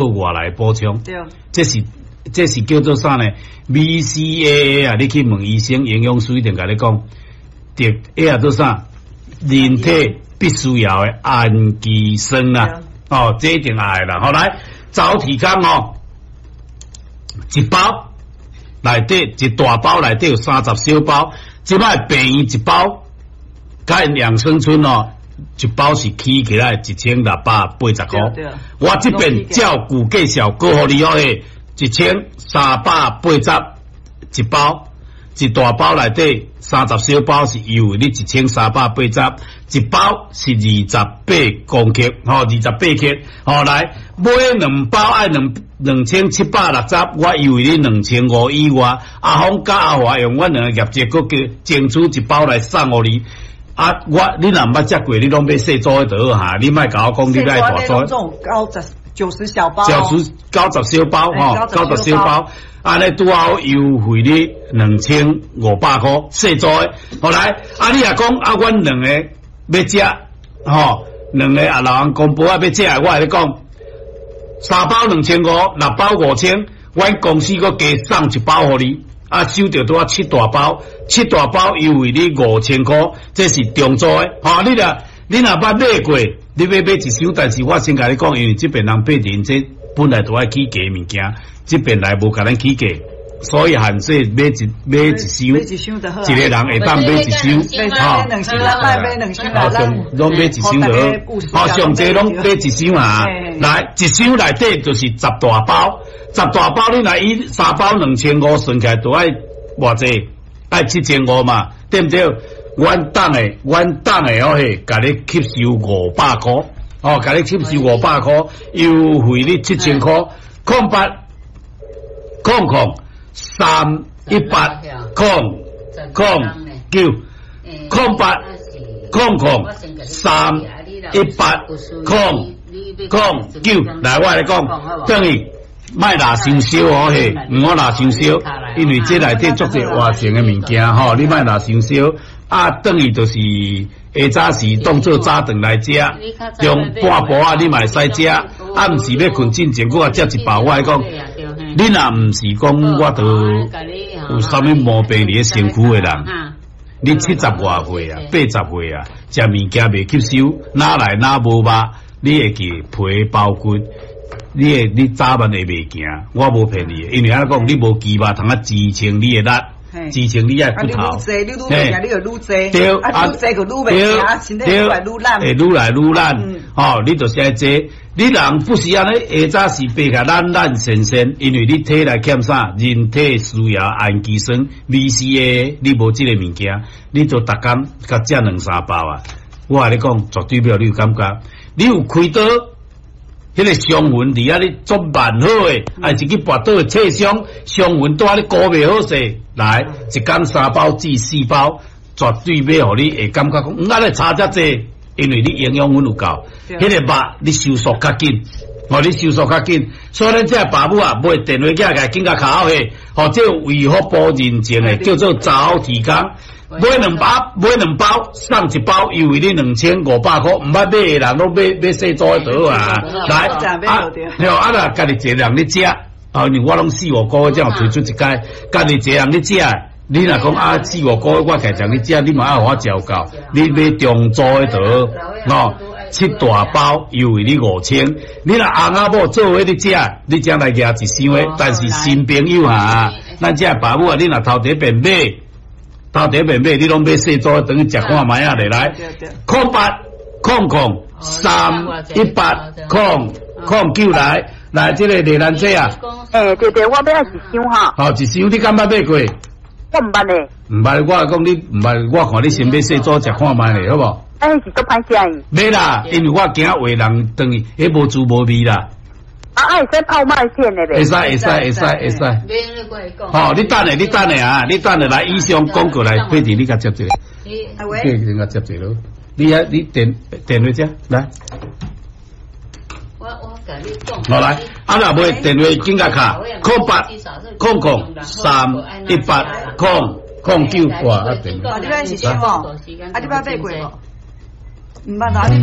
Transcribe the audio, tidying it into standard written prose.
外來補充。這是叫做啥呢？BCAA 啊，你去問醫生、營養師一定共你講，對，彼個做啥？人體必須要的氨基酸啊，哦，這一定愛啦。好來，早體康哦，一包內底一大包內底有30小包，這擺便宜一包，佮養生村哦，一包是起起來1680塊。我這邊照舊介紹，閣予你哦，1380一包，一大包內底三十小包是優惠你一千三百八十，一包是28公克，吼，28克，吼，來買兩包愛2760，我優惠你2500以外。阿峰佮阿華用阮兩个業績，閣叫爭取一包來送予你。啊，我你若毋捌食過，你攏買細組的就好哈，你莫共我講你愛大組。 90小包，90小包吼，九十小包，按呢拄好優惠你2500塊，細組的。好來，啊你若講啊，阮兩個欲食，吼，兩個啊老人公婆啊欲食，我共你講，三包2500，六包5000，阮公司閣加送一包予你。啊，收著拄仔七大包，七大包優惠你5000塊，這是中組的。吼，你若捌買過，你欲買一箱，但是我先共你講，因為這邊人買人這本來都愛起價物件，這邊來無共咱起價，所以限制買一箱，一個人會當買一箱，吼，好，攏買一箱就好，好，上濟攏買一箱啊，來一箱內底就是10大包。10大包你若以三包兩千五算起來，都愛偌濟？愛7500嘛，對毋對？阮黨的哦嘿，共你吸收500塊，哦，共你吸收五百塊，優惠你7000塊，0800 0318 009，0800 0318 009，來，我來講，等於。莫拉傷燒哦嘿，毋好拉傷燒，因為這內底足濟活性的物件吼，你莫拉傷燒。啊，轉去就是下早時當做早頓來食，中半晡仔你嘛會使食，暗時欲睏進前，閣來食一包。我來講，你若毋是講我著有啥物毛病佇咧身軀的人，你70外歲啊，80歲啊，食物件袂吸收，哪來哪無肉，你會記皮包骨。你會你早晚會袂行，我無騙你，因為按怎講，你無肌肉通啊支撐你的力，支撐你的骨頭。你愈濟，你就愈濟。對，啊，愈濟就愈袂行，身體愈來愈懶。會愈來愈懶。吼，你就是愛坐。你人不是按呢，下早時爬起來懶懶散散，因為你體內欠啥？人體需要氨基酸 BCAA，你無這個物件，你就逐工共食兩三包啊。我共你講，絕對袂予你有感覺。你有開刀？彼個傷痕佇遐咧足蠻好的，啊，一去跋倒切傷，傷痕拄仔咧顧袂好勢，來一工三包至四包，絕對欲予你會感覺講，按呢差遮濟，因為你營養分有夠，彼個肉你收縮較緊，哦，你收縮較緊，所以咱這爸母啊，買電話寄來，緊共敲去，吼，這有衛福部認證的，叫做早體康。買兩包，買兩包送一包，優惠你2500塊，毋捌買的人攏買買細組的就好啊。來，啊，對啊，若家己一個人咧食，啊，因為我攏四五個月才有推出一擺，家己一個人咧食，你若講啊四五個月我家己咧食，你嘛愛予我食有夠，你買中組的就好，哦，七大包優惠你5000，你若翁仔某做伙咧食，你才來舉一箱的，但是新朋友啊，咱這爸母啊，你若頭第一遍買。頭第一遍買，你攏買細組，轉去食看覓仔咧來。0800 0318 009來，來這個麗蘭姐啊。欸，對對，我欲愛一箱哈。好，一箱你敢捌買過？我毋捌咧。毋捌，我講你毋捌，我看你先買細組食看覓咧，好無？欸，是足歹食。買啦，因為我驚有的人轉去，彼無滋無味啦。啊，會使泡麥線的袂？會使，會使，會使，會使。好，你等下，你等下啊，你等下來，以上廣告來，佩蒂，你共接一下。喂。你共接一下咯。你啊，你電話遮來。好來，啊若無電話緊共敲，0800 0318 009，哇，啊電話。你欲一箱無？啊，你捌買過無？毋捌啊，你欲。